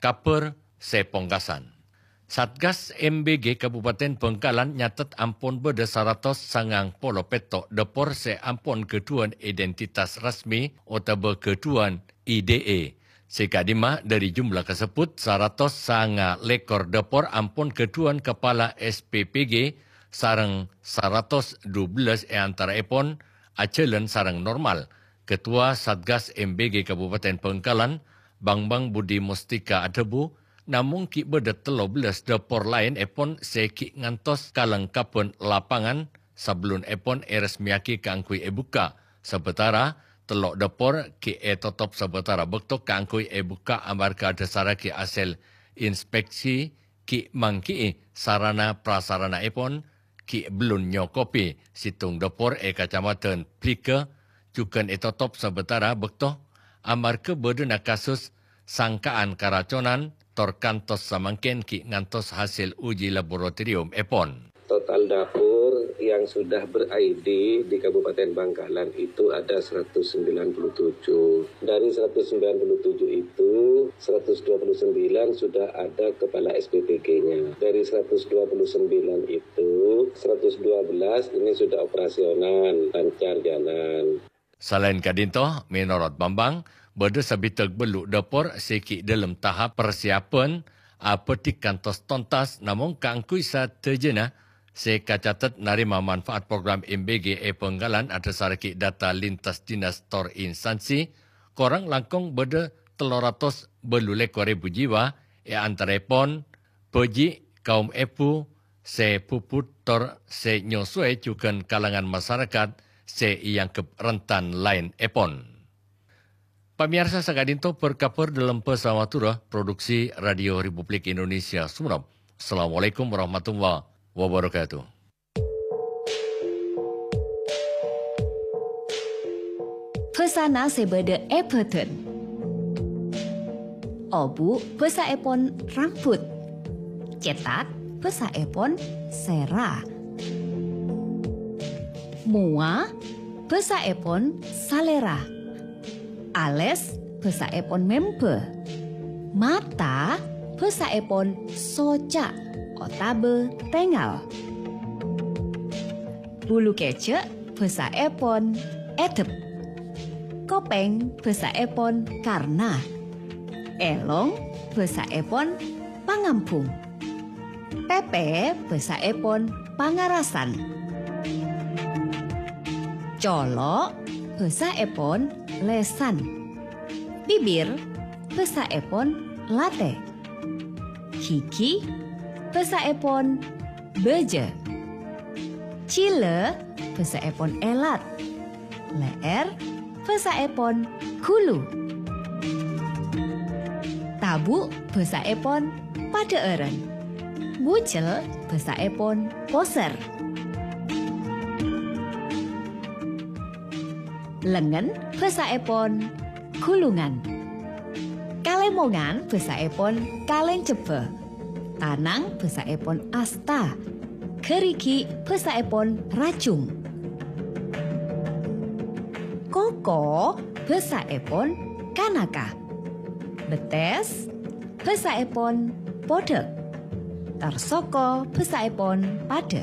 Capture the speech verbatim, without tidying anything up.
Kabhâr sè pongkasan. Satgas M B G Kabupaten Bangkalan nyatet ampon bâdâ saratos sangang polo pètto' dâpor sè ampon ghâdhuwân identitas resmi otabâ ghâdhuwân I D E. Sè ka'dimma dhâri jumlah kasebbhut, saratos sanga lèkor dâpor ampon ghâdhuwân kapala S P P G sareng saratos dubellâs è antaraèpon ajhâlân sareng normal. Ketua Satgas M B G Kabupaten Bangkalan, Bambang Budi Mustika adhâbu, namong ghi' bâdâ tello bellâs dâpor laènèpon sè ghi' ngantos kalengkabhân lapangan sabellunèpon èresmèyaghi kaangghuy èbukka'. Sabâtara tello' dâpor ghi' ètotop sabâtara bâkto kaangghuy èbukka' amarghâ adhâsarraghi hasèl inspeksi ghi' mangghi'i sarana prasaranaèpon ghi' bellun nyokobi. Sèttong dâpor è Kacamadhân Bliga jhughân ètotop sabâtara bâkto amarghâ bâdâna kasus sangka'an karaconan, tor kantos samangkèn ghi' ngantos hasèl uji laboratoriumèpon. Total dapur yang sudah ber-I D di Kabupaten Bangkalan itu ada seratus sembilan puluh tujuh. Dari seratus sembilan puluh tujuh itu, seratus dua puluh sembilan sudah ada kepala S P P G-nya. Dari seratus dua puluh sembilan itu, seratus dua belas ini sudah operasional, lancar jalan. Salaèn ka'dinto, mènorot Bambang, bâdâ sabidhâk bâllu' dâpor sè ghi' dâlem tahap parsiapan, abhâdhi kantos tontas, namong kaangghuy sadhâjâna sè kacatet narèma manfaat program M B G è Bangkalan adhâsarraghi data lintas dinas tor instansi, korang langkong bâdâ tello ratos bâllu lèkor èbu jiwa, è antaraèpon bhâji', kaum èbhu sè bhubhut tor sè nyosowè jhughân kalangan masarakat sè èangghep rentan laènèpon. Pamèyarsa, saka'dinto bâr-kabhâr dâlem bhâsa Madhurâ, produksi Radio Republik Indonesia Sumenep. Assalamualaikum warahmatullahi wabarakatuh. Bhâsana sè bâdâ è bhâdhân. Obu' bhâsaèpon rambut. Cètak bhâsaèpon sèra. Mowa bhâsaèpon salèra. Alès bhâsaèpon mèmbâ. Mata bhâsaèpon soca' otabâ tèngal. Bulu kèjhâ' bhâsaèpon èdhep. Kopèng bhâsaèpon karna. Èlong bhâsaèpon pangambhung. Pèpè bhâsaèpon pangarasan. Colo' bhâsaèpon lèsan. Bibir bhâsaèpon latè. Ghighi bhâsaèpon bâjâ. Jhilâ bhâsaèpon èlat. Lè'èr bhâsaèpon ghulu. Tabu' bhâsaèpon padhâ'ârân. Bujel bhâsaèpon posèr. Lengngen bhâsaèpon ghulungan. Kalèmongan bhâsaèpon kalèncebbhâ. Tanang bhâsaèpon asta. Ghârighi' bhâsaèpon rajung. Koko bhâsaèpon kanaka. Bettès bhâsaèpon podhâk. Tarsoko bhâsaèpon padhâ.